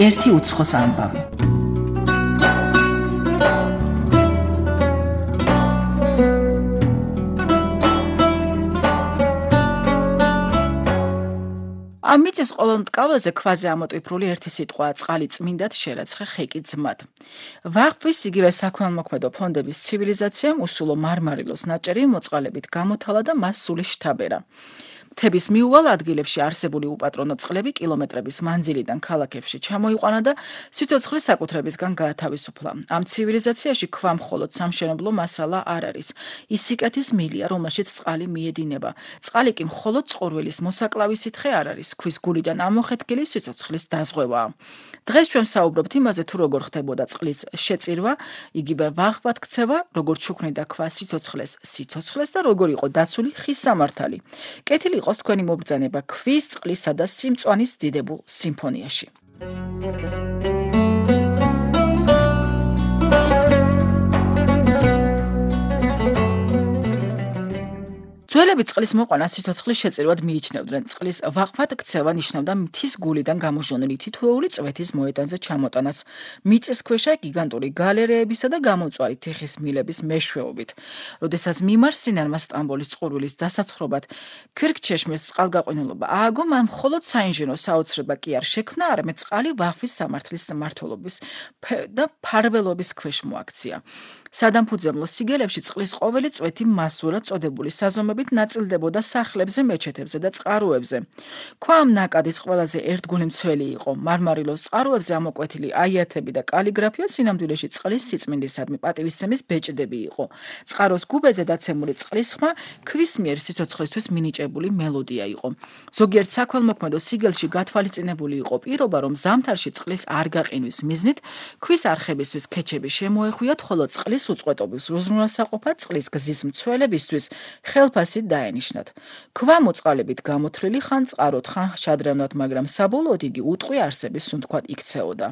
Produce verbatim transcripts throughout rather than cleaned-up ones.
ერთი უცხოს ამბავი. ამ მიწის ყოველ მტკავრაზე ქვაზე ამოტვიფრული ერთი სიტყვაა წყალი წმინდად შერაცხე ხეკი ძმად. ვაღბვის იგივე საქველმოქმედო ფონდების ცივილიზაციამ უსულო მარმარილოს ნაჭერი მოწყალებით გამოთალა და მას სული შთაბერა. მთების მიუვალ ადგილებში არსებული უპატრონო წყლები კილომეტრების მანძილიდან ქალაქებში ჩამოიყვანა და სიცოცხლის საკუთრებისგან გაათავისუფლა. ამ ცივილიზაციაში ქვა მხოლოდ სამშენებლო მასალა არ არის. ის სიკეთის მილია, რომელშიც წყალი მიედინება. წყალი კი მხოლოდ წყურვილის მოსაკლავი სითხე არ არის. ქვის გულიდან ამოხეთქილი სიცოცხლის დაზღვევაა. დღეს ჩვენ საუბრობთ იმაზე, თუ როგორ ხდებოდა წყლის შეწირვა, იგივე ვაღბად ქცევა, როგორ ჩუქნიდა ქვა სიცოცხლეს სიცოცხლეს და როგორ იყო დაცული ხის სამართალი. კეთილი იყოს თქვენი მობრძანება ქვის, წყლისა და სიმწვანის დიდებულ სიმფონიაში. ძველები წყლის მოყვანა სიცოცხლის შეწირვად მიიჩნევდნენ. წყლის ვაღბად ქცევა ნიშნავდა მთის გულიდან გამოჟონილი თითოეული წვეთის მოედანზე ჩამოტანას, მიწისქვეშა გიგანტური გალერეებისა და გამომწვარი თიხის მილების მეშვეობით. როდესაც მიმარსინანმა სტამბოლის წყურვილის დასაცხრობად ქირქჩეშმის წყალგაყვანილობა ააგო, მან მხოლოდ საინჟინრო საოცრება კი არ შექმნა, არამედ წყალი ვაღბვის სამართლის მმართველობის და ფარველობის ქვეშ მოაქცია. სადამფუძემლო სიგელებში წყლის ყოველი წვეთი მასურად წოდებული საზომებით ნაწილდებოდა სახლებზე, მეჩეთებზე და წყაროებზე. ქვა ამ ნაკადის ყველაზე ერთგული მცველი იყო. მარმარილოს წყაროებზე ამოკვეთილი აიათები და კალიგრაფია სინამდვილეში წყლის სიწმინდისადმი პატივისცემის ბეჭდები იყო. წყაროს გუბეზე დაცემული წყლის ხმა ქვის მიერ სიცოცხლისთვის მინიჭებული მელოდია იყო. ზოგიერთ საქველმოქმედო სიგელში გათვალისწინებული იყო პირობა, რომ ზამთარში წყლის არ გაყინვის მიზნით ქვის არხებისთვის ქეჩები შემოეხვიათ, ხოლო წყლის უწყვეტობის უზრუნველსაყოფად წყლის გზის მცველებისთვის ხელფასი დაენიშნათ. ქვა მოწყალებით გამოთვლილი ხან წყაროდ, ხან შადრევნად, მაგრამ საბოლოოდ იგი უტყვი არსების სუნთქვად იქცეოდა.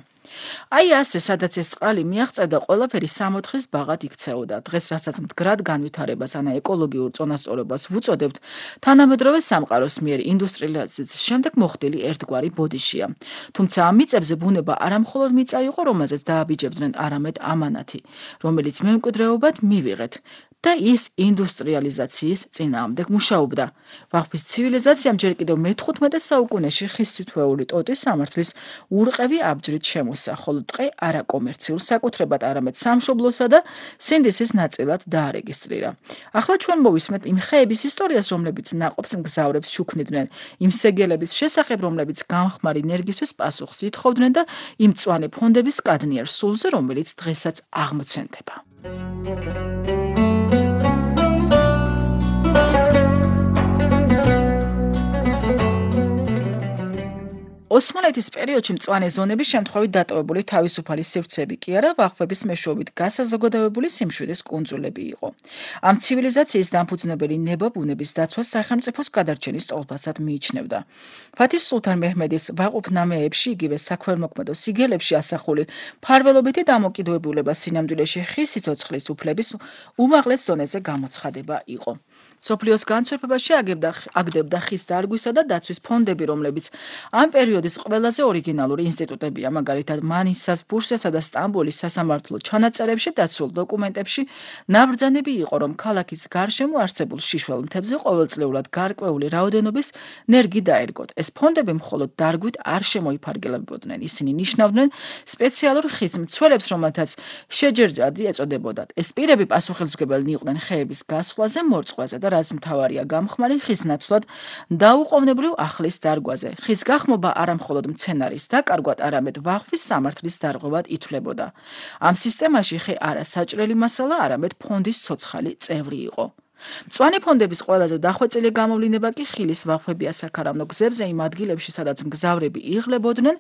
აი ასე, სადაც ეს წყალი მიაღწევდა, ყველაფერი სამოთხის ბაღად იქცეოდა. დღეს, რასაც მდგრად განვითარებას ანა ეკოლოგიურ წონასწორობას ვუწოდებთ, თანამედროვე სამყაროს მიერ ინდუსტრიალიზაციის შემდეგ მოხდილი ერთგვარი ბოდიშია. თუმცა ამ მიწებზე ბუნება არა მხოლოდ მიწა იყო, რომელზეც დააბიჯებდნენ, არამედ ამანათი, რომელიც მემკვიდრეობად მივიღეთ. და ის ინდუსტრიალიზაციის წინააღმდეგ მუშაობდა. ვაღბვის ცივილიზაციამ ჯერ კიდევ მეთხუთმეტე საუკუნეში ხის თითოეული ტოტის სამართლის ურყევი აბჯრით შემოსა, ხოლო დღე არა კომერციულ საკუთრებად, არამედ სამშობლოსა და სინდისის ნაწილად დაარეგისტრირა. ახლა ჩვენ მოვისმენთ იმ ხეების ისტორიას, რომლებიც ნაყოფს მგზავრებს შუქნიდნენ, იმ სეგელების შესახებ, რომლებიც გამხმარი ენერგიისთვის პასუხს ითხოვდნენ და იმ მწვანე ფონდების კადნიერ სულზე, რომელიც დღესაც აღმოცენდება. ოსმალეთის პერიოდში მწვანე ზონები შემთხვევით დატოვებული თავისუფალი სივრცეები კი არა, ვაღბების მეშვეობით გასაზოგადოებული სიმშვიდის კუნძულები იყო. ამ ცივილიზაციის დამფუძნებელი ნება ბუნების დაცვას სახელმწიფოს გადარჩენის სტოლბაცად მიიჩნევდა. ფათის სულთან მეჰმედის ვაყუფნამეებში, იგივე საქველმოქმედო სიგელებში ასახული ფარველობითი დამოკიდებულება სინამდვილეში ხის სიცოცხლის უფლების უმაღლეს ზონეზე გამოცხადება იყო. მსოფლიოს განცვიფებაში აგდებდა ხის დარგვისა და დაცვის ფონდები, რომლებიც ამ პერიოდის ყველაზე ორიგინალური ინსტიტუტებია, მაგალითად მანისას, ბურსასა და სტამბოლის სასამართლო ჩანაწერებში დაცულ დოკუმენტებში ნაბრძანები იყო, რომ ქალაქის გარშემო არსებულ შიშველ მთებზე ყოველწლიურად გარკვეული რაოდენობის ნერგი დაერგოთ. ეს ფონდები მხოლოდ დარგვით არ შემოიფარგლებოდნენ, ისინი ნიშნავდნენ სპეციალურ ხის მცველებს, რომელთაც შეჯერადი ეწოდებოდათ. ეს პირები პასუხისმგებელნი იყვნენ ხეების გასვლაზე, მორწყვაზე და რაც მთავარია გამხმარი ხის ნაცვლად დაუყოვნებლივ ახლის დარგვაზე. ხის გახმობა არა მხოლოდ მცენარის დაკარგვად, არამედ ვაღბვის სამართლის დარღვევად ითვლებოდა. ამ სისტემაში ხე არა საჭრელი მასალა, არამედ ფონდის ცოცხალი წევრი იყო. მწვანე ფონდების ყველაზე დახვეწილი გამოვლინება კი ხილის ვაღბებია საქარავნო გზებზე, იმ ადგილებში, სადაც მგზავრები იღლებოდნენ,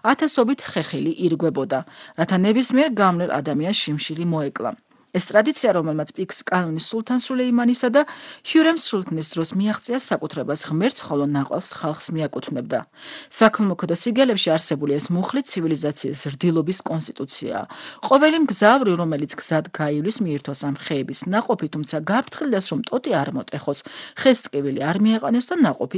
ათასობით ხეხილი ირგვებოდა, რათა ნებისმიერ გამვლელ ადამიანს შიმშილი მოეკლა. ეს ტრადიცია, რომელმაც პიქს კანონის სულთან სულეიმანისა და ჰიურემ სულთნის დროს მიაღწია საკუთრებას ღმერთს, ხოლო ნაყოფს ხალხს მიაკუთვნებდა. საქველმოქმედო სიგელებში არსებული ეს მუხლი ცივილიზაციის რდილობის კონსტიტუციაა. ყოველი მგზავრი, რომელიც გზად გაივლის, მიირთოს ამ ხეების ნაყოფი, თუმცა გაფრთხილდეს, რომ ტოტი არ მოტეხოს, ხეს ტკივილი არ მიეყანოს და ნაყოფი